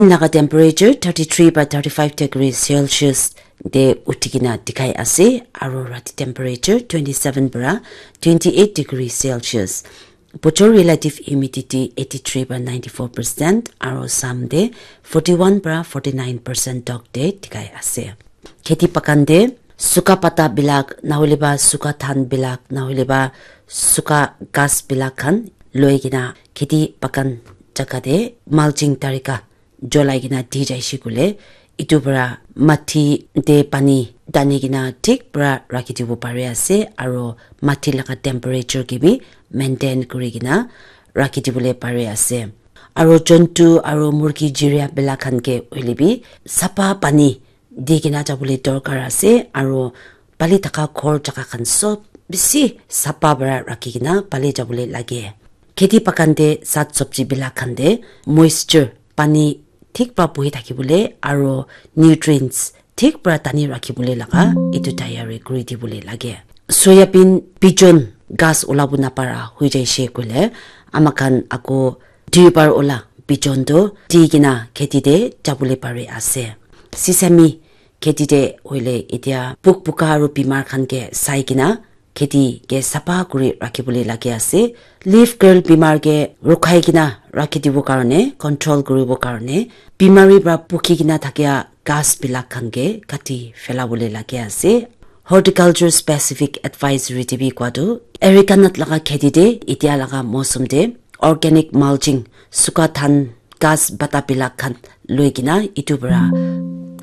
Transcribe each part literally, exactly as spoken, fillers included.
Naga temperature thirty three para thirty five degree Celsius te uthi kena dikhai ase, aro rati temperature twenty seven para twenty eight degree Celsius. Bochor relative humidity eighty three para ninety four percent, aro sam te forty one para forty nine percent tok te dikhai ase. Kheti bagan te suka pata bilak, nahole ba suka than bilak, nahole ba suka ghas bilak khan loi kena kheti bagan jaga te mulching tarika jolai kena di jaise koile, etu para mati te pani tani kena thik para rakhi dibo pari ase, aro mati laga temperature ke bi maintain kuri kena rakhi dibole pari ase. Aro jontu aro murgi jiria bilak khan ke hoile bi sapa pani di kena jabole dorkar ase, aro pali thaka ghor jaga khan sob bishi sapa para rakhi kena pali jabole lage. Kheti bagan te sag sabji bilak khan te moisture, pani thik para bohi thakibole aro nutrients thik para tani rakhi bole laga etu tayari kuri dibole lage. Soya bean bijon ghas ulabo napara hoi jaise koile, ama khan ako duibar ula bijon tu di kena kheti te jabole pari ase. Sesame kheti te hoile etia puk puka aro bimar khan ke sai kena kheti ke sapa kuri rakhi bole lage ase. Leaf curl bimar ke rukhai kena rakhi dibo karne, control kuribo karne, bimari para pukhi kena thakia ghas bilak khan ke kati phela bole lage ase. Horticulture specific advisory te bi koa tu, areca nut laga kheti te etia laga mousum te organic mulching, suka than ghas bata bilak khan loi kena etu para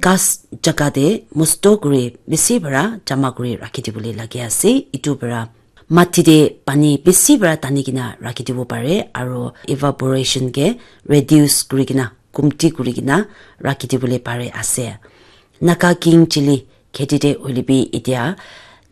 ghas jaga te musto kuri bishi para jama kuri rakhi dibole lage ase. Etu para mati te pani bishi para tani kena rakhi dibo pare, aro evaporation ke reduce kuri kena, kumti kuri kena rakhi dibole pare ase. Naga king chili kheti te hoile bi etia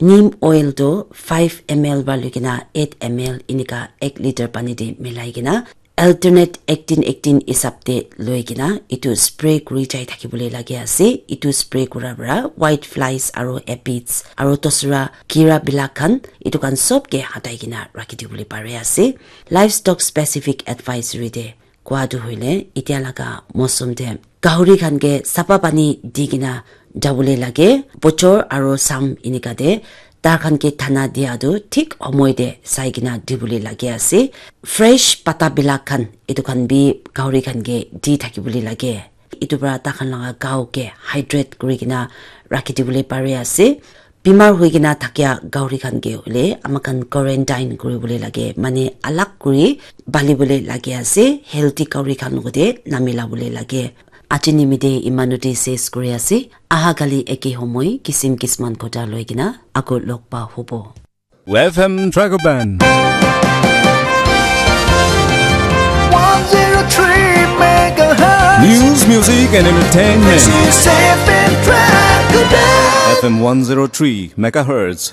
neem oil tu five M L para loi kena eight M L enika ek litre pani te milai kena alternate eighteen eighteen hisab te loi kena etu spray kuri jai thaki bole lage ase. Etu spray kura para white flies aro aphids aro dusra kira bilak khan etu khan sob ke hatai kena rakhi dibole pare ase. Livestock specific advisory te koa tu hoile etia laga mousum te gahuri khan ke sapa pani di kena jabole lage. Bochor aro sam enika te tai khan ke dhana dia tu thik homoi te sai kena dibole lage ase. Fresh pata bilak khan etu khan bi gahuri khan ke di thaki bole lage. Etu para tai khan laga gao ke hydrate kuri kena rakhi dibole pare ase. Bimar hoi kena thakia gahuri khan ke hoile ama khan quarantine kuri bole lage, mane alag kuri bali bole lage ase, healthy gahuri khan logote namila bole lage. Aji nimite imanote ses kuri ase. Aha kali eke homoi kisim kisman kotha loi kena ako log pa hobo. F M Dragon Band. One zero three megahertz. News, music, and entertainment. This is F M Dragon Band. F M one zero three megahertz.